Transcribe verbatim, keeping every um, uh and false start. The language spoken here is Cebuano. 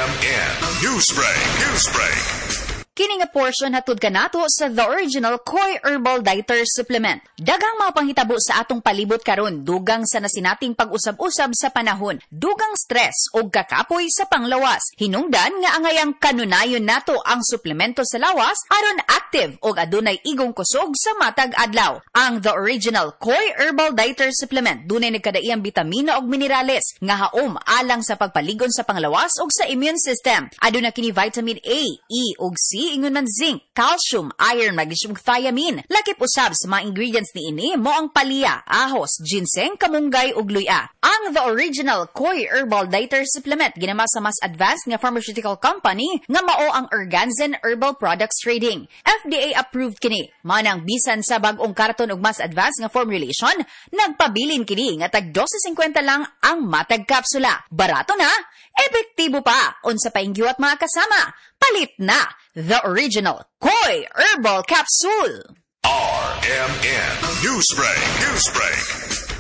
R M N Newsbreak, Newsbreak. Kini nga portion hatod kanato sa The Original Koi Herbal Dietary Supplement. Daghang mga panghitabo sa atong palibot karon, dugang sa nasinating pag-usab-usab sa panahon, dugang stress ug kakapoy sa panglawas. Hinungdan nga angayang kanunayon nato ang suplemento sa lawas aron active ug adunay igong kusog sa matag adlaw. Ang The Original Koi Herbal Dietary Supplement dunay nagkadaiyang bitamina ug minerales nga haom alang sa pagpaligon sa panglawas ug sa immune system. Aduna kini vitamin A, E ug C, ingon man zinc, calcium, iron, magnesium, ug thiamine. Lakip usab sa mga ingredients niini mao ang palya, ahos, ginseng, kamunggay ug luya. Ang The Original Koi Herbal Dietary Supplement ginama sa mas advanced nga pharmaceutical company nga mao ang Erganzen Herbal Products Trading. F D A approved kini. Manang bisan sa bag-ong karton ug mas advanced nga formulation, nagpabilin kini nga tag dose singkwenta lang ang matag kapsula. Barato na, epektibo pa. Unsa pa gihuwat, mga kasama? Palit na The Original Koi Herbal Capsule. R M N Newsbreak, Newsbreak.